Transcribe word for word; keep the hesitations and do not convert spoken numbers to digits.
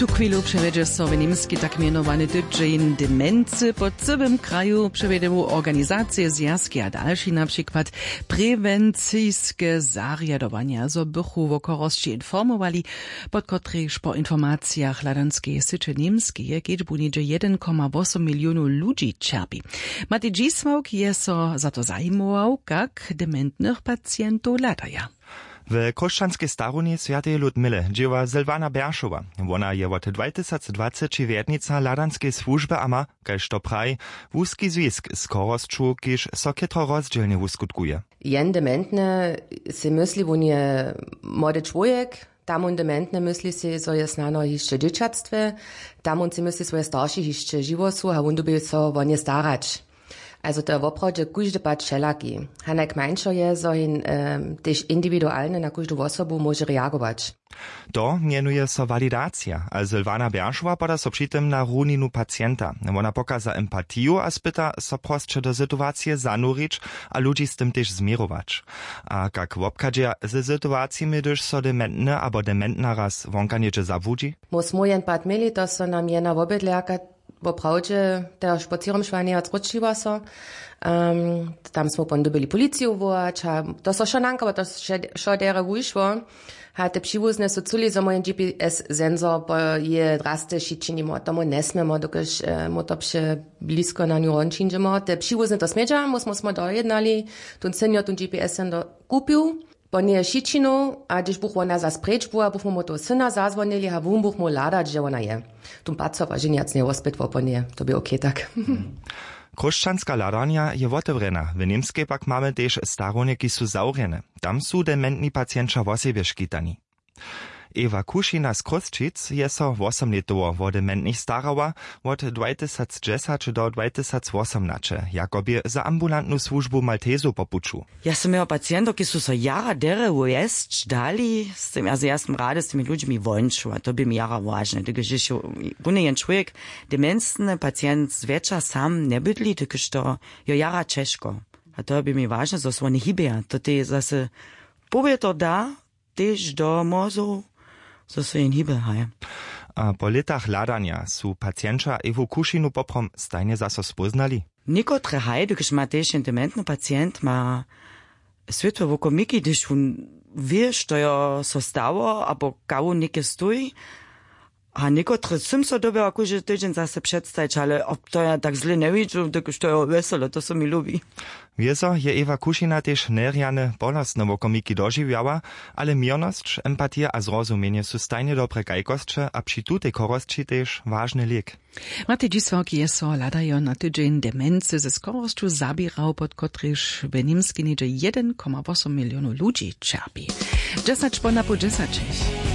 Tuchwilu přewjedźe so w němskej tak mjenowany tydźeń demency po cyłym kraju. Přewjedemu organizacije, zwjazki a dalši, na přikład prewenciske zarjadowanja, zo bychu wo chorosći informowali, pod kotrejž po informacijach hladanskej syće němskeje kedźbu něhdźe jedyn koma wosom milionow ludźi ćerpi. Matej Dźisławk je so za to zajimował, kak dementnych pacientow hladaja. W chróšćanskej starunji swjateje Ludmile dźěła Sylwana Beršowa. Wona je wot dwatysacdwaceći rjednica hladanskeje słužby a ma, kaž to praji, wuski zwisk z chorosću, kiž so chětro rozdźělnje wuskutkuje. Jen dementny sej mysli, wón je młody čłowjek. Tam wón dementny mysli sej, zo je snano hišće w dźěćatstwje. Tam wón sej mysli, swoje staršich hišće žiwo su a wón dyrbi so wo nje starać. Also to je woprawdźe kóždy pad wšelaki. Hanaj kmańšo je, zo hin tež indiwidualnje na kóždu wosobu móže reagować. To mjenuje so walidacija a Sylwana Beršowa poda so při tym na runinu pacienta. Wona pokaza empatiju a spyta so prosće do situacije zanurić a ludźi z tym tež změrować. A kak wobchadźeja ze situacijemi, hdyž so dementny abo dementna raz wonka něhdźe zabłudźi? Mój smojen pad měli, to so nam jena wobydlerka woprawdźe te špocěromšłanje a zróčiła so. Tam smy pon dyrbili policiju wołać a to so wšo nankało, to wšo derje wušło. A te přiwuzne su culi, zo mójen gps sensor po je drasty šićinimo, tomu njesměmo dokelž mu to přeblisko na nju hon přińdźemo. Te přiwuzne to smědźa, mu smo smo dojednali, tón senior tón gps sensor kupił po njeje šićinu. A hdyž buch wona zas preč była, buchmy mu toho syna zazwonili a wón buch móhł hladać, hdźe wona je. Tón paco pa ženjac njeje wospytwał po njeje, to bě okej tak. Chróšćanska hladarnja je wotewrjena, w němskej pak mamy tež starownje, kiž su zawrjene. Tam su dementni pacienća wosebje škitani. Ewa Kušina z Chrósćic je so wosomlětowo wo dementnich starała, wot dwatysacdźesać do dwatysacwosomnaće, jako bě za ambulantnu słužbu maltesow po puću. Ja sym jeho pacientow, kiž su so jara derje wjesć dali, z tym ja, ja sym rady z tymi ludźimi wońću a to bě mi jara wažne, hdyž je runje jen čłowjek, demencny pacient zwjetša sam njebydli, hdyž to jo jara ćežko. A to bě mi wažne, zo so woni hibeja, to tej zase powě to da tež do mórzow, zo so jen hibe, haj. A po lětach hladanja su pacienća ewu kušinu poprom stajnje zaso spóznali? Někotre haj, dokelž ma tež jen dementny pacient ma swětłe wokomiki, hdyž wón wě, što jo so stało abo kaž wón něke stoji. A někotre sym so dyrbjała kóždy tydźeń zase předstajić, ale to ja tak zle njewidźu, dokelž to je wjesele, to so mi lubi. Wězo je ewa kušina tež njerjane bolostne wokomiki dožiwjała, ale měrnosć, empatija a zrozumjenje su stajnje dobre kajkosće a při tutej chorosći tež wažny lěk. Matej dźisławk je so hladajo na tydźeń demency ze chorosću zaběrał, pod kotrejž w němskej něhdźe jedyn koma wosom milionow ludźi ćerpi. Dźesać po napoł dźesaćich.